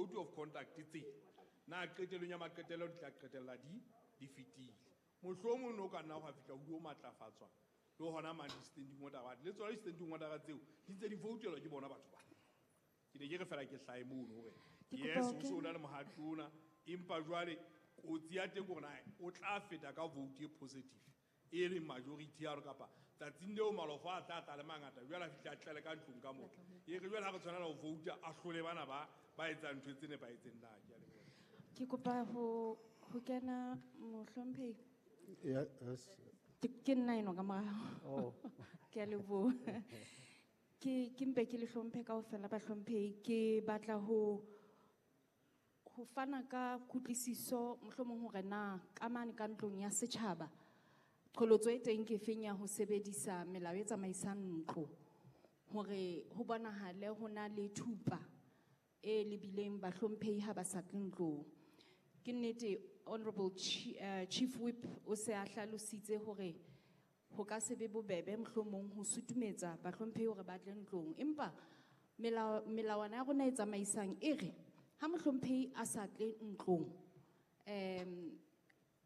Di-code of conduct tse na qetellong ya maqetello di tla qetella di fetile. Mohlomong no ka nna hwa fihla ho matlafatswa le hona mane di-standing order le tsona di-standing order tseo di ntse di voutelwa ke bona batho ba. Ke ne ke re fela ke hlahe mono hore Ke kopa yes, ho o so o kena. na le mohato ona, empa jwale kotsi ya teng ke hore na o tla feta ka vote e positive e leng majority ya rona, kapa tsatsing leo malofo a tla tla le mangata jwale a fihla a tlele ka ntlong ka moo. E re jwale ha re tshwanela ho vouta, a hlole bana ba etsang ntho tse nepahetseng na. Ke a leboha. Ke kopa ho kena, mohlomphehi. Yeah, yes. Ke nna eno ka morao. Oh. Ke a leboha. Ke mpe ke le hlomphe kaofela bahlomphehi. Ke batla ho fana ka kutlwisiso mohlomong hore na ka mane ka ntlong ya setjhaba qholotso e teng ke feng ya ho sebedisa melao e tsamaisang ntlo hore ho bonahale ho na le thupa e lebileng bahlomphehi ha ba sa tle ntlong. Ke nnete Honorable Chief Whip o se a hlalositse hore ho ka se be bobebe mohlomong ho sutumetsa bahlomphehi hore ba tle ntlong, empa melawana ya rona e tsamaisang e re ha mohlomphehi a sa tle ntlong,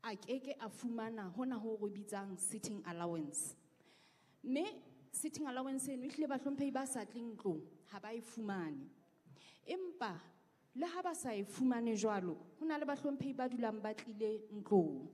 a keke a fumana hona ho re bitsang sitting allowance. Mme sitting allowance eno ehlile bahlomphehi ba sa tleng ntlong ha ba e fumane. Empa le ha ba sa e fumane jwalo, ho na le bahlomphehi ba dulang ba tlile ntlong.